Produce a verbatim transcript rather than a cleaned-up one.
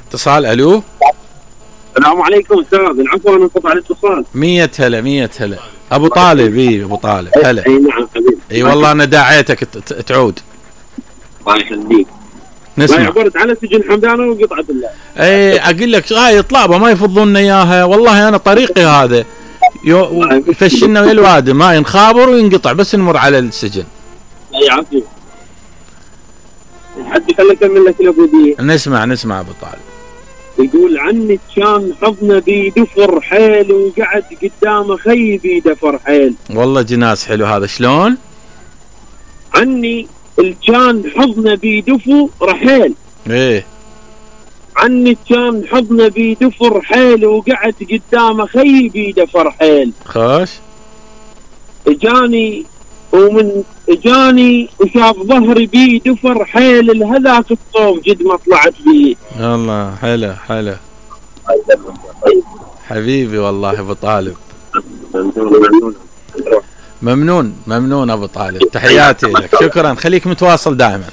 اتصال. الو السلام عليكم استاذ، العفو انا انقطع الاتصال. مية هلا مية هلا ابو طالب. اي ابو طالب هلا. اي نعم حبيبي. اي والله انا داعيتك تعود. الله يخليك. نسمع. ما عبرت على سجن حمدانه وقطعه الله. اي اقول لك هاي طلابه ما يفضون لنا اياها، والله انا طريقي هذا يفشلنا ويا الوادم، ما ينخابر وينقطع بس نمر على السجن. اي عفو. حد خليني اكمل لك الابوديه. نسمع نسمع ابو طالب. يقول عني كان حضنه بيدفر حيل وقعد قدامه خي بيدفر حيل. والله جناس حلو هذا. شلون؟ عني كان حضنه بيدفر حيل. ايه. عني كان حضنه بيدفر حيل وقعد قدامه خي بيدفر حيل. خوش. اجاني ومن اجاني وشاف ظهري بيه دفر حيل الهذاك الصوب جد ما طلعت بيه. الله حلو حلو حبيبي والله ابو طالب. ممنون ممنون ابو طالب، تحياتي لك، شكرا، خليك متواصل دائما.